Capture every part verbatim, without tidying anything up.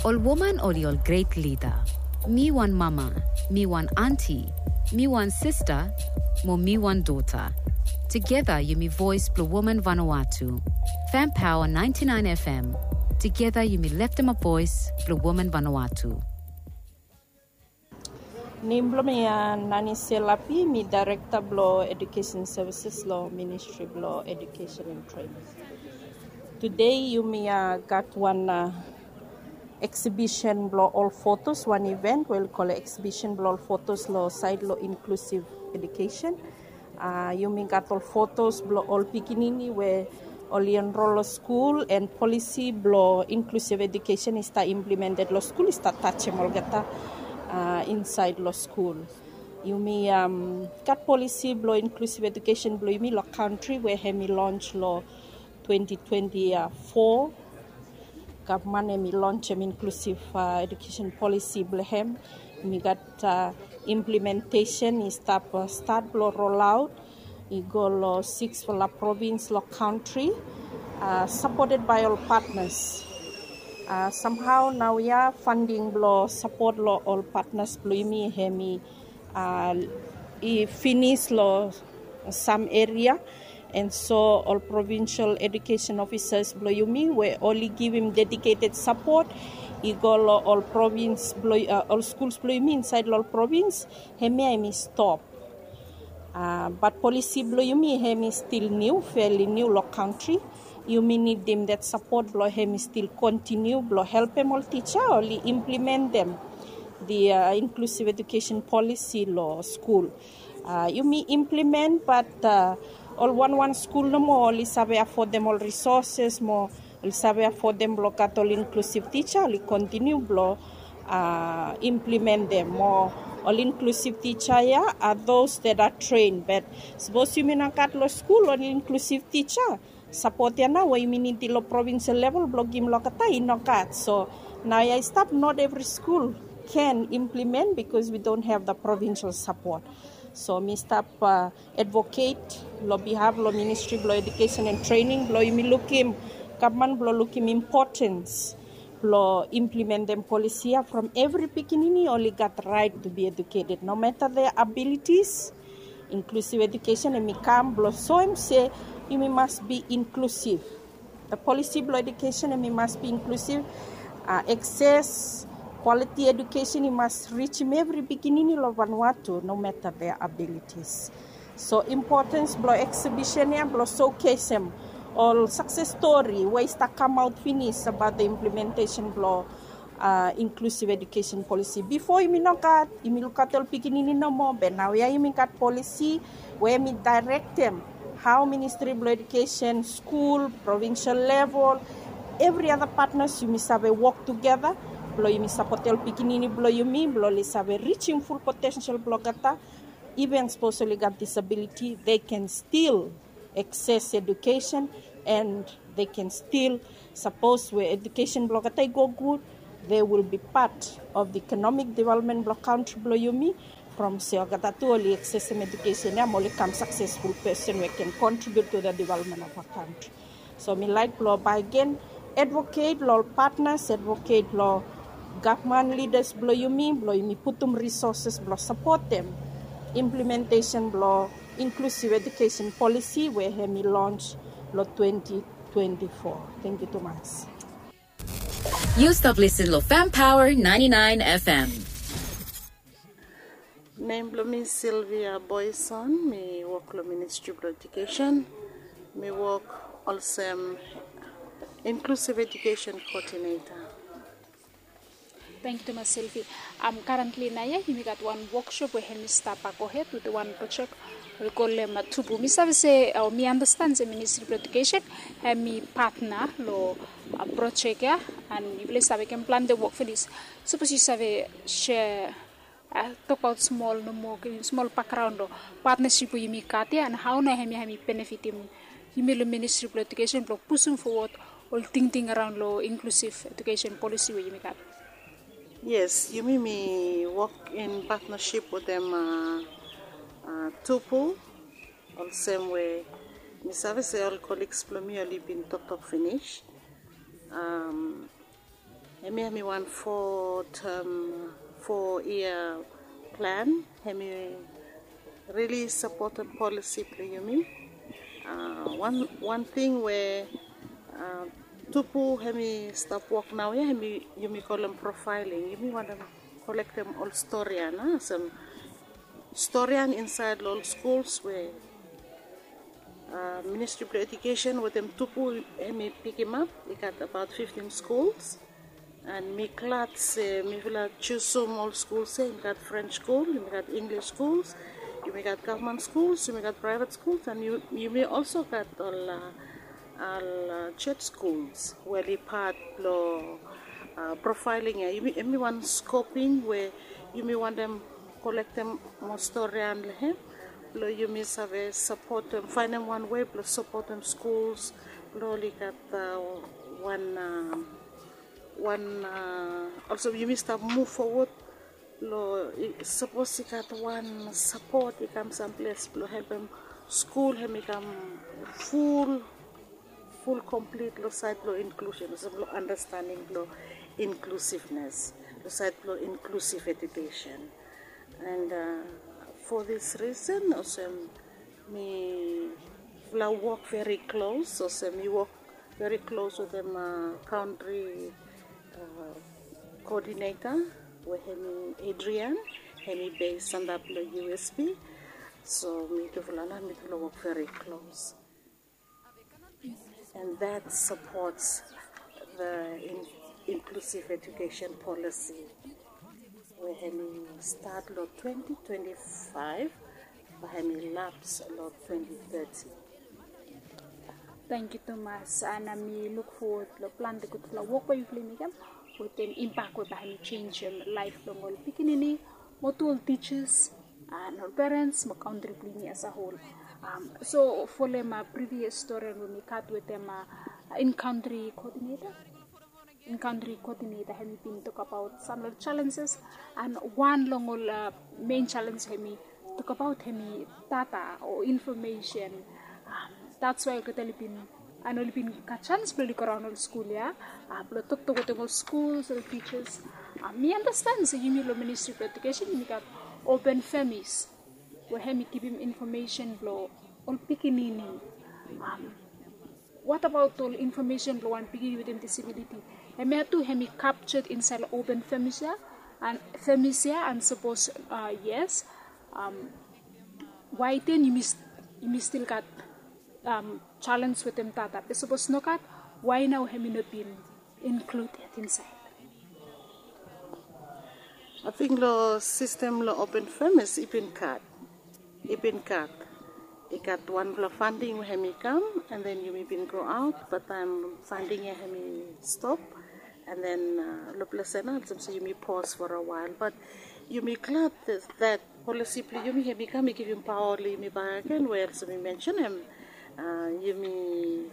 Ol woman oli ol gret lida. Mi wan mama, mi wan anti, mi wan sista, mo mi wan dota. Tugeta yumi voes blong woman Vanuatu. Fam Paoa naenti naen FM. Tugeta yumi leftemap voes blong woman Vanuatu. Nem blong mi ya Nani Selapi, mi Daerekta blong Edukesen Sevises long Ministri blong Edukesen and Trening. Tude yumi ya gat wan eksibisen blong ol fotos, wan iven we oli kolem eksibisen blong ol fotos long saed long inklusiv edukesen. Yumi gat ol fotos blong ol pikinini we oli enrol long skul, and polisi blong inklusiv edukesen i stap implemented long skul, i stap tajem olgeta insaed long skul. Yumi gat polisi blong inklusiv edukesen blong yumi long kantri we hem i lons long twenti twenti fo. Gavman hem i lonsem inklusiv edukesen polisi blong hem. Yumi gat implementesen i stap stat blong rolaot i go long siksfala provins long kantri, sapoted bae ol patnas. Samhao naoia fanding blong sapot long ol patnas blong yumi hem i i finis long sam eria. And so ol provinsel edukesen ofisas blong yumi we oli givim dediketed sapot i go long ol provins blong ol skuls blong yumi insaed long ol provins, hemia hem i stop. Bat polisi blong yumi hem i stil niu, feli niu long kantri. Yumi nidim det sapot blong hem i stil kontiniu blong helpem ol tija oli implementem the inklusiv edukesen polisi long skul. Yumi implement, bat ol wanwan skul nomo oli save afodem ol risoses mo oli save afodem blong gat ol inklusiv tija, oli kontiniu blong implementem mo ol inklusiv tija ya a those that are trained. Bat sapos yumi no gat long skul ol inklusiv tija, sapot ya nao we yumi nidim long provinsel level blong givim long olgeta i no gat. So naoia i stap, not evri skul can implement because we don't have the provincial support. So mi stap advoket long bihaf long Ministri blong Edukesen and Trening blong yumi lukim, gavman blong lukim impotens blong implementem polisi ya from evri pikinini oli gat raet tu bi eduketed no mata their abilities. Inklusiv edukesen hem i kam blong soem se yumi mas bi inklusiv. Polisi blong edukesen hem i mas bi inklusiv. Akses kwaliti edukesen i mas rijim evri pikinini long Vanuatu no mata their abilities. So impotens blong eksibisen ya blong sokesem ol sakses stori we i stap kamaot finis abaot the implementesen blong inklusiv edukesen polisi. Bifo yumi no gat, yumi lukaot ol pikinini nomo, be naoia yumi gat polisi we hem i daerektem hao Ministri blong Edukesen, skul, provinsel level, evri ada patnas yumi save wok tugeta blong yumi sapotem ol pikinini blong yumi blong oli save rijim ful potensel blong olgeta. Iven sapos oli gat disabiliti, they can still akses edukesen and they can still, sapos we edukesen blong olgeta i go gud, they will be part of the economic development blong kantri blong yumi. From se olgeta tu oli aksesem edukesen ya mo oli kam saksesful pesen we can contribute to the development of our country. So mi laek blong baegen advoket long ol patnas, advoket long gavman lidas blong yumi blong yumi putum risoses blong sapotem implementesen blong inklusiv edukesen polisi we hem i lons long twenti twenti fo. Tangkiu tumas. Yu stap lisin long Fam Power naenti naen FM. Nem blong mi Sylvia Boyson, mi wok long Ministri blong Edukesen. Mi wok olsem inklusiv edukesen koodineta. Tangkiu tumas Sylvia. Karentli naoia yumi gat wan woksop we hem i stap gohed wetem wan projek we oli kolem Tupu. Mi save se o mi andastan se Ministri blong Edukesen hem i patna long projek ya, and yufala i save mekem plante wok finis. Sapos yu save sea, tokbaot smol nomo, givim smol bakgraon long patnasip we yumi gat ya, and hao nao hemia hem i benefitim yumi long Ministri blong Edukesen blong pusum fowod ol tingting araon long inklusiv edukesen polisi we yumi gat. Yes, yumi mi wok in patnasip wetem Tupu, olsem we mi save se ol koligs blong mi oli bin toktok finis. Mi hemi wan four term, four year plan. Hemi really sapotem polisi blong yumi. Wan wan ting we tupu hemi stap wok naoia hemi yumi kolem profiling. Yumi wantem kolektem ol storian, olsem storian insaed long ol skuls we Ministri blong Edukesen wetem tupu hemi pikimap. I gat abaot fiftin skuls. And mi glad se mifala jusum ol skuls ya. Yumi gat French skul, yumi gat Inglis skuls, yumi gat gavman skuls, yumi gat praevet skuls, and yumi olso gat ol ol jos skuls we oli pat blong profiling ya. Hemi wan skoping we yumi wantem kolektem moa storian long hem blong yumi save sapotem, faenem wan wei blong sapotem skuls blong oli gat wan wan olsem yumi stap muv fowod long sapos i gat wan sapot i kam samples blong helpem skul hemi kam ful ful komplit long saed blong inklusen, olsem long andastanding blong inklusivnes, long saed blong inklusiv edukesen. And for this reason olsem mifala wok veri klos, olsem mi wok veri klos wetem kaontri koodineta we hemi Adrian, hemi bes antap long U S P. So mitufala nao mitufala wok veri klos. And that supports the in, inclusive education policy we hemi stat long twenty twenty-five bae hemi laps long twenty thirty. Tangkiu tumas, and mi luk fowod long plante gudfala wok we yufala i mekem wetem impak we bae hemi jenjem laef blong ol pikinini mo tu ol tijas and ol perens mo kaontri blong yumi as a whole. So folem previous stori we mi gat wetem in-country coordinator. In-country coordinator hemi bin tokbaot sam long ol challenges, and wan long ol main challenge hemi tokbaot hemi data o information. That's why olgeta oli bin and oli bin gat jans blong oli goraon ol skul ya blong toktok wetem ol skuls, ol tijas. Mi andastan se yumi long Ministri blong Edukesen yumi gat open femis we hemi givim infomesen blong ol pikinini. What about ol infomesen blong wan pikinini wetem disabiliti? Hemia tu hemi captured insaed long open femis ya? And femis ya, and sapos yes, wae den yumi stil gat challenge wetem data? Be sapos nogat, wae nao hemi no bin include yet insaed? Ating long sistem long open femis i bin gat, i bin gat, i gat wanfala funding we hemi kam, and then yumi bin go aot, but taem funding ya hemi stop, and then long ples ya nao olsem se yumi pause for a while, but yumi glad that policy blong yumi hemi kam i givim paoa long yumi bakegen we olsem mi mensenem, yumi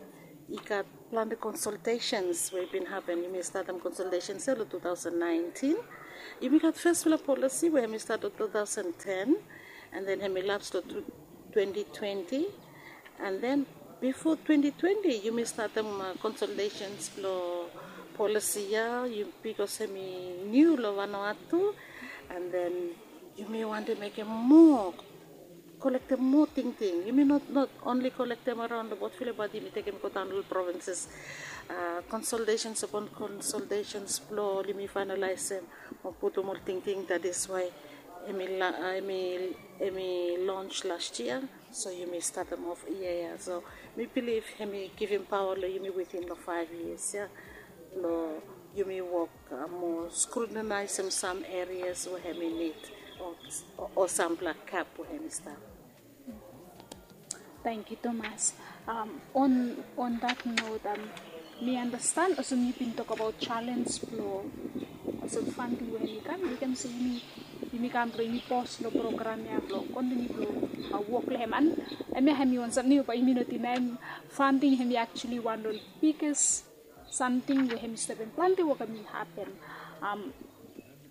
i gat plante consultations we i bin hapen. Yumi statem consultations ya long two thousand nineteen. Yumi gat fesfala policy we hemi stat long two thousand ten, and then hemi laps long twenty twenty. And then bifo twenty twenty yumi statem consultations blong policy ya, bikos hemi niu long Vanuatu. And then yumi wantem mekem moa, kolektem moa tingting. Yumi not only kolektem araon long Port Phillip, bat yumi tekem i godaon long ol provinces. Consultations upon consultations blong oli yumi finalize mo putum ol tingting. That is why hemi launch last year. So yumi statem of yia ya. So mi bilif hemi givim paoa long yumi within long five years ya blong yumi wok mo scrutinize sam areas we hemi nid o sampela gap we hemi stap. Tangkiu tumas. On that note, mi andastan olsem yu bin tokbaot challenge blong olsem funding we hemi kam, yumi kam se yumi kam blong yumi pause long program ya blong kontiniu blong wok long hem. And hemia hemi wan samting we bae yumi no dinaem, funding hemi actually wan long ol biggest samting we hemi stopem plante wok hemi hapen.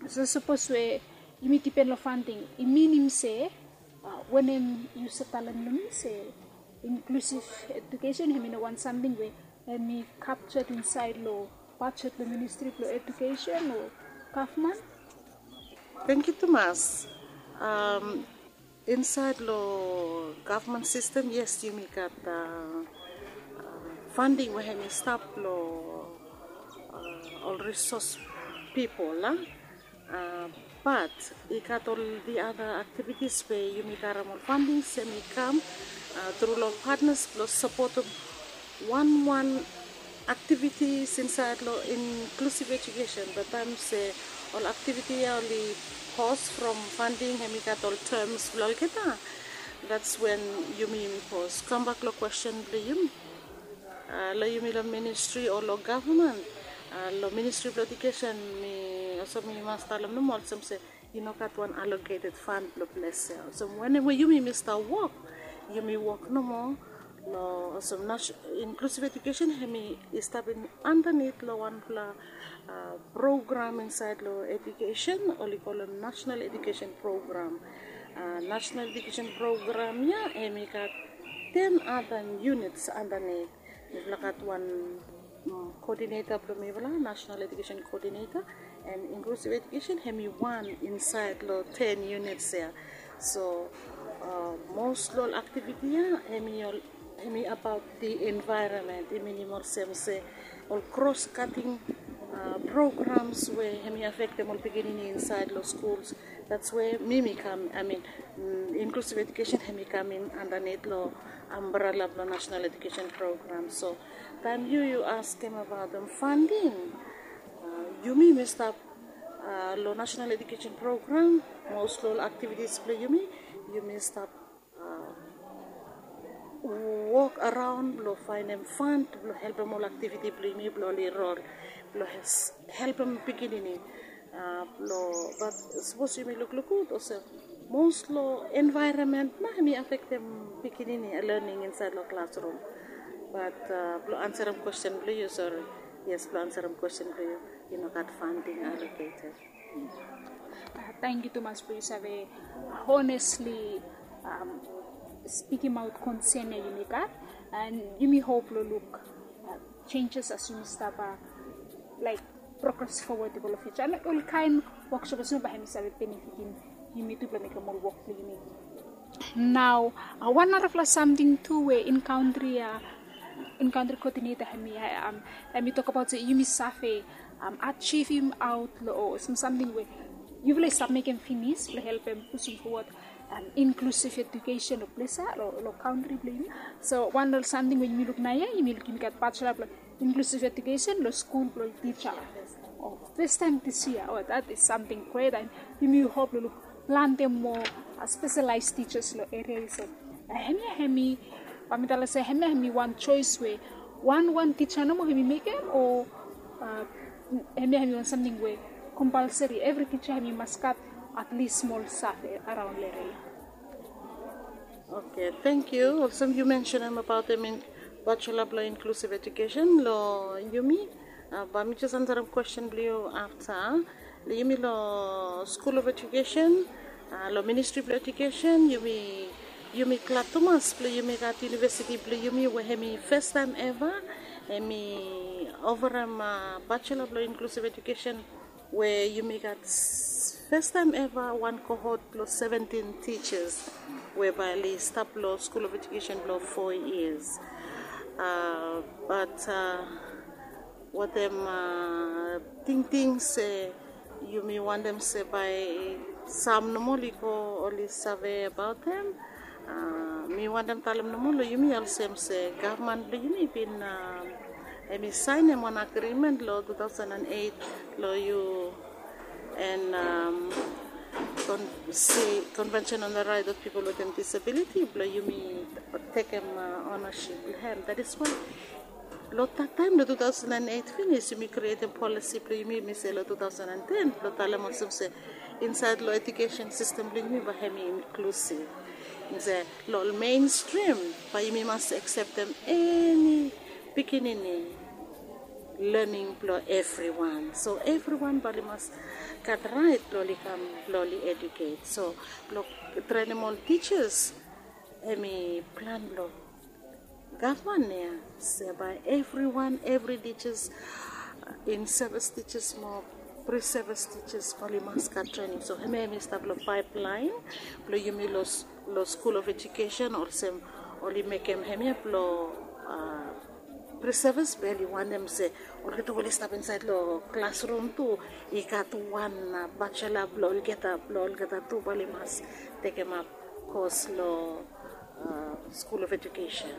So sapos we yumi dipen long funding, i minim se wanem yu save talem long mi se inclusive education hemi no wan samting we hemi captured insaed long Bajet long ministri blong edukesen o gavman? Thank you tumas. Um, inside lo government system, yes, yumi gat uh, uh, funding we hemi stap lo uh, ol resource people la. Uh, but i gat ol the other activities we yumi gat ol funding hemi kam uh, through lo partners lo support wan wan activities inside lo inclusive education. But taem se ol activity ya oli pause from funding, hemi gat ol terms blo olgeta. That's when yumi yumi pause. Kambak lo question blo yumi. Uh, lo yumi lo ministry o lo government. Uh, lo ministry blo education mi also mi mas talem nomo olsem se i no gat wan allocated fund blo ples ya. So wanem we yumi mi stap wok, yumi wok nomo lo olsem inclusive education, hemi i stap underneath lo wanpela uh, program inside lo education, oli kolem national education program. Uh, national education program ya hemi gat ten other units underneath. Mifala gat wan um, coordinator blo mifala, national education coordinator, and inclusive education hemi wan inside lo ten units ya. So uh, most lo ol activity ya hemi ol hemi about the environment, i minim olsem se ol cross cutting uh, programs we hemi affectem ol pikinini inside lo schools. That's where mi mi kam, I mean, mm, inclusive education hemi kam in underneath lo umbrella blo national education program. So taem yu yu askem about the funding, uh, yumi mi stap uh, lo national education program, most lo ol activities blo yumi, yumi stap uh, wok araon blo faenem fund blo helpem ol activity blo yumi blo oli rol blo helpem pikinini. Uh, blo but sapos yumi lukluk gud olsem most lo environment na hemi affectem pikinini learning inside lo classroom. But uh, blo ansarem question blo yu, sorry, yes, blo ansarem question blo yu, i no gat funding allocated. Uh, thank you tumas blo yu save honestly um, speaking out concern ya yumi gat, and yumi hope lo look uh, changes as yumi stap uh, like progress forward i go lo future. And ol kaen workshops nao bae hemi save benefitim yumi tu blo mekem ol wok blo yumi. Nao uh, wan narafala samting tu we in country uh, in country coordinator hemi uh, um, hemi tok abaot se yumi save um, achievim aot lo o sam- samting we yufala i stap mekem finis blo helpem pusum forward um, inclusive education lo ples ya lo, lo country blo yumi. So wan lo samting we yumi luk naoia yumi luk yumi gat bachelor blo inclusive education lo skul blo teacher. Oh, first time this year, oh, that is something great. And yumi hope lo luk planti moa uh, specialized teachers lo area ya. So uh, hemia hemi bae mi talem se hemia hemi wan choice we wan wan teacher nomo hemi mekem, o uh, hemia hemi wan samting we compulsory every teacher hemi mas gat at least smol save araon lo area ya. Okay, thank you. Olsem yu mentionem abaot hemi bachelor blo inclusive education lo yumi. Uh, bae mi jes ansarem question blo yu afta. Lo yumi lo School of Education, uh, lo Ministry blo Education, yumi yumi glad tumas blo yumi gat university blo yumi we hemi first time ever hemi oferem uh, bachelor blo inclusive education we yumi gat first time ever wan cohort blo seventeen teachers we bae oli stap lo School of Education blo four years. Uh, but uh, watem uh, tingting se yumi wantem se bae sam nomo oli go oli save abaot hem. Uh, mi wantem talem nomo lo yumi olsem se gavman blo yumi bin um, hemi saenem wan agreement lo two thousand and eight lo yu and um, con- si Convention on the Right of People with Disability blo yumi tekem uh, ownership blo hem. That is why lo that time lo two thousand and eight finis yumi krietem policy blo yumi mi se lo two thousand and ten blo talem olsem se inside lo education system blo yumi bae hemi inclusive. Yumi se lo mainstream bae yumi mas acceptem eni pikinini learning blo everyone. So everyone bae oli mas gat right blo oli kam blo oli educate. So blo trenem ol teachers hemi plan blo gavman ya se bae everyone, every teachers In-service teachers mo pre-service teachers oli mas gat trening. So hemia hemi stap long paiplaen blong yumi long School of Education, olsem oli mekem hemia blong pre-service be oli wantem se olgeta we oli stap insaed long klasrum tu i gat wan bachelor blong olgeta blong olgeta tu bae oli mas tekemap kos long School of Education.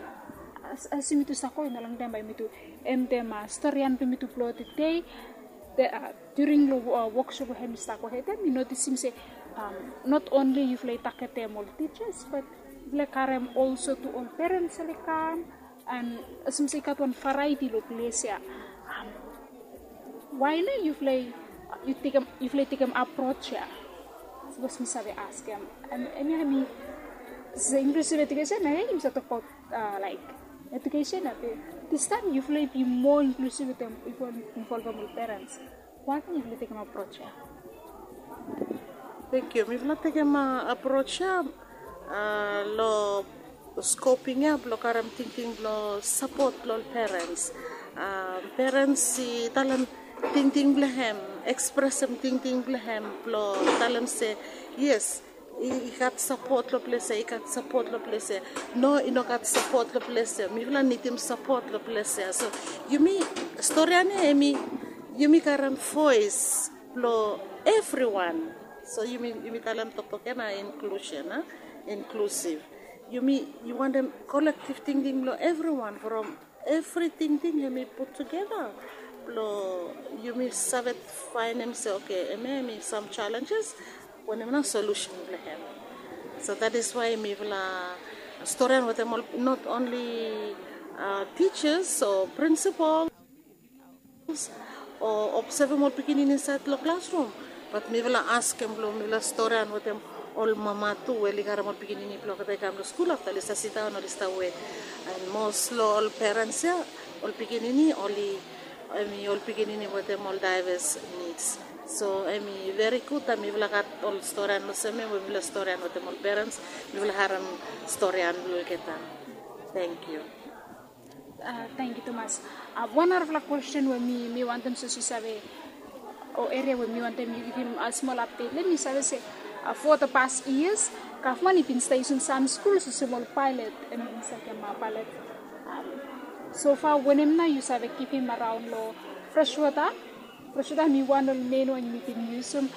As yumi tu save, i no longtaem bae yumi tu endem storian blong yumi tu blong tede. During long woksop we hemi stap gohed, mi notisim se not only yufala i tagetem ol teachers, but yufala i karem olso tu ol parents oli kam. And olsem se i gat wan variety long ples ya. Why nao yufala i tekem approach ya? Sapos mi save askem, hemia hemi se inclusive education, hemia yumi save tokbaot like education ya, be distaem yufala i bi moa inclusive wetem yufala i involvem ol parents. Why nao yufala i tekem approach ya? Thank you. Mifala tekem approach ya long scoping ya blong karem tingting blong sapot long ol parents. Parents i talem tingting blong hem, ekspresem tingting blong hem blong talem se yes, i gat sapot long ples ya, i gat sapot long ples ya. No, i no gat sapot long ples ya. Mifala nidim sapot long ples ya. So yumi, storian ya hemi yumi karem voes blong evriwan. So yumi talem toktok ya na inclusion, inclusive. Yumi wantem kolektiv tingting blong evriwan from evri tingting hemi put tugeta blong yumi save faenem se okay, hemia hemi sam challenges, wanem nao solusen blong hem. So that is why mifala storian wetem ol not only teachers o principals o obsevem ol pikinini insaed long klasrum, bat mifala askem blong mifala storian wetem ol mama tu we oli karem ol pikinini blong olgeta i kam long skul afta oli stap sidaon, oli stap wet. And most long ol parents ya, ol pikinini oli, hemi ol pikinini wetem ol diverse needs. So hemi very good taem mifala gat ol storian olsem ya we mifala storian wetem ol parents, mifala harem storian blong olgeta. Thank you. Thank you tumas. Wan narafala question we mi wantem sapos yu save, o eria we mi wantem yu givim smol update long hem, mi save se for the past years gavman i bin stap yusum sam skul olsem ol pilot, hemi bin stap givim pilot. So far wanem nao yu save givim araon long freshwater? Freshwater hemi wan long ol main wan yumi bin yusum.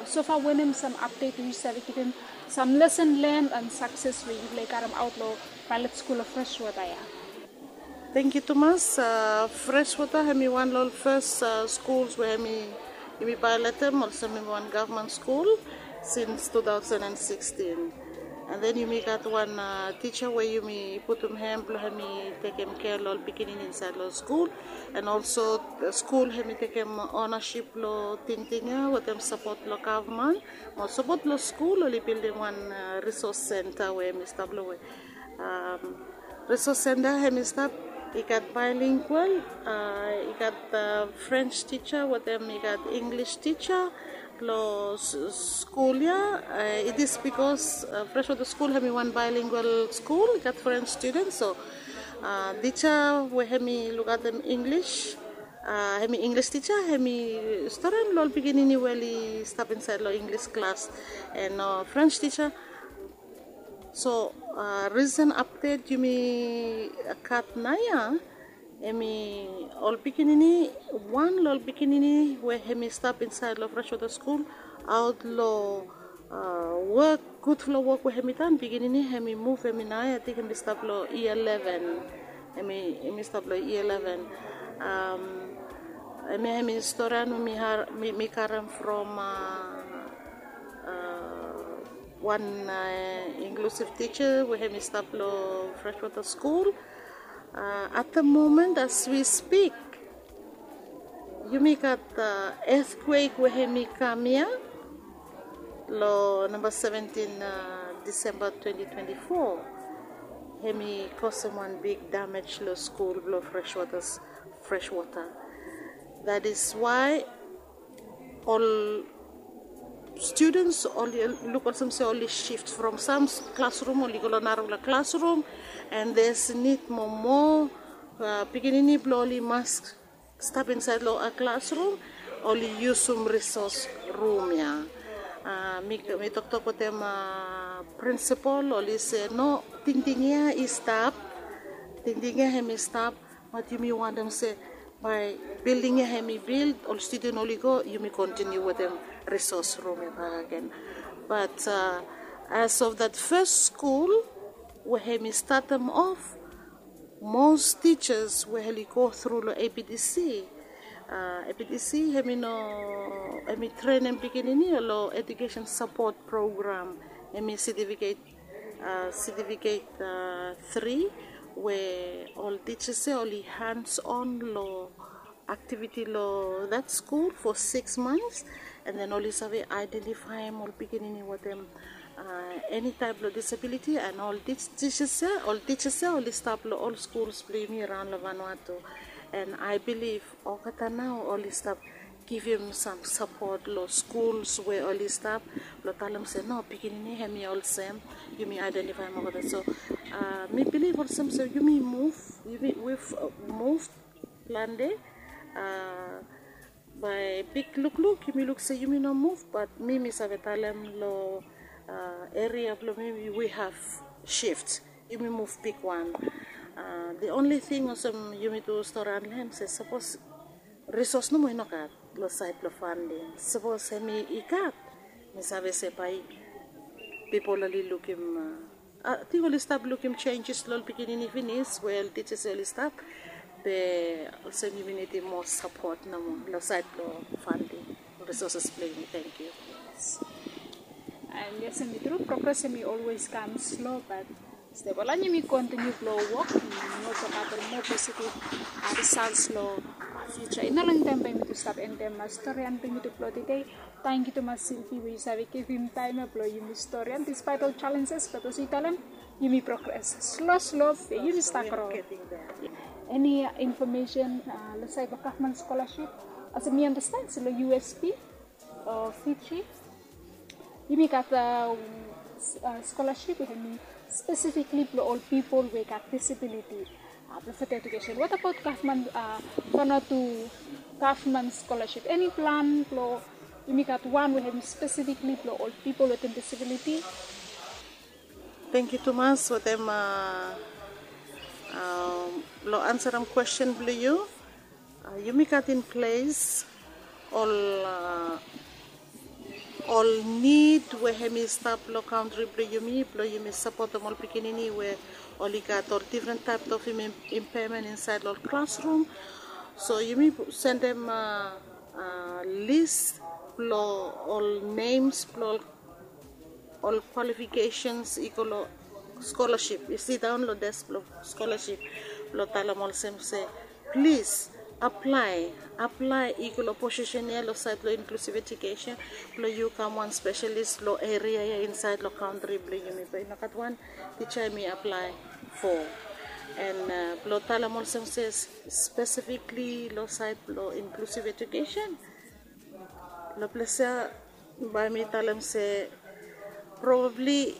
So far wanem sam update we yu save givim, sam lesson learned and success we yufala i karemaot long pilot skul long freshwater ya? Thank you tumas. Freshwater hemi wan long ol fes skuls we hemi, yumi pilotem olsem hemi wan gavman skul since two thousand and sixteen. And then yumi gat wan tija we yumi putum hem blong hemi tekem kea long ol pikinini insaed long skul. And also skul hemi tekem ownership long tingting ya wetem sapot blong gavman mo sapot blong skul, oli bildim wan resource center we hemi stap long we resource center hemi stap, i gat bilingual, i gat French tija wetem i gat English tija long skul ya. It is bikos Freshwater Skul hemi wan bilingual skul, i gat French student. So tija we hemi lukaotem English, hemi English tija, hemi storian long ol pikinini we oli stap insaed long English klas. And French tija. So risen apdet yumi gat naoia, hemi ol pikinini, wan long ol pikinini we hemi stap insaed long Freshwater Skul, aot long wok, gudfala wok we hemi done, pikinini hemi muv, hemi naoia, ating hemi stap long yia eleven. Hemi stap long yia eleven. Hemia hemi storian we mi karem from wan inklusiv tija we hemi stap long Freshwater Skul. At the moment as we speak, yumi gat earthquake we hemi kam ia long namba seventin Disemba twenty twenty-four. Hemi kosem wan big damage long skul blong Freshwater. That is why ol students oli luk olsem se oli shift from sam klasrum oli go long narafala klasrum, and there's need mo moa pikinini blong oli mas Stap insaed long klasrum, oli yusum risos rum ya. Mi toktok wetem prinsipol, oli se no, tingting ya i stap, tingting ya hem i stap. Bat yumi wantem se bae bilding ya hem i bild, ol studen oli go, yumi kontiniu wetem risos rum ya bakegen. Bat as of that fes skul we hem i statem of, mos tijas we oli go tru long APDC, APDC hem i no, hem i trenem pikinini long edukesen sapot program, hem i setifiket, setifiket tri, we ol tijas ya oli hands on long aktiviti long that skul for six months, and then oli save aedentifaem ol pikinini wetem eni taep long disabiliti, and ol tijas ya, ol tijas ya oli stap long ol skuls blong yumi raon long Vanuatu. And I believe olgeta nao oli stap givim sam sapot long skuls we oli stap, blong talem se no, pikinini hem i olsem, yumi aedentifaem olgeta. So mi bilif olsem se yumi muv, yumi, we've moved plante. Bae big lukluk yumi luk se yumi no muv, bat mi, mi save talem long eria blong mi, we have shift. Yumi muv bigwan. The only thing olsem yumi tu storian long hem se sapos risos nomo i no gat long saed blong fanding, sapos hem i gat, mi save se bae pipol oli lukim, ating oli stap lukim jenjes long ol pikinini finis, we ol tijas oli stap. Be olsem yumi nidim moa sapot nomo long saed blong fanding, risoses blong yumi. Tangkiu. And yes, hem i tru, progres hem i olwes kam slo, bat step wan lain yumi kontiniu blong wok, yumi no tokabaot ol moa positiv risals long fiuja. I no longtaem bae yumi tu stap endem storian blong yumi tu blong tede. Tangkiu tumas Silvi we yu save givim taem ya blong yumi storian, dispaet ol jalenjes, bat olsem yu talem, yumi progres slo slo, be yumi stap gro. Eni infomesen long saed blong gavman skolasip? Olsem mi andasten se long USP o Fiji, yumi gat skolasip we hem i spesifikli blong ol pipol we gat disabiliti, blong fata edukesen. What about gavman, Vanuatu gavman skolasip? Eni plan blong yumi gat wan we hem i spesifikli blong ol pipol wetem disabiliti? Tangkiu tumas wetem long ansarem kwesten blong yu. Yumi gat in ples ol, ol nid we hem i stap long kantri blong yumi, blong yumi sapotem ol pikinini we oli gat ol difren taep of impaemen insaed long ol klasrum. So yumi sendem lis blong ol nems blong ol kwalifikesens i go long skolasip, i sidaon long desk blong skolasip, blong talem olsem se, plis aplae, aplae i go long posisen ya long saed blong inklusiv edukesen, blong yu kam wan spesalis long eria ya insaed long kantri blong yumi. Be i no gat wan tija hem i aplae fo. And blong talem olsem se, spesifikli long saed blong inklusiv edukesen, long ples ya bae mi talem se, probabli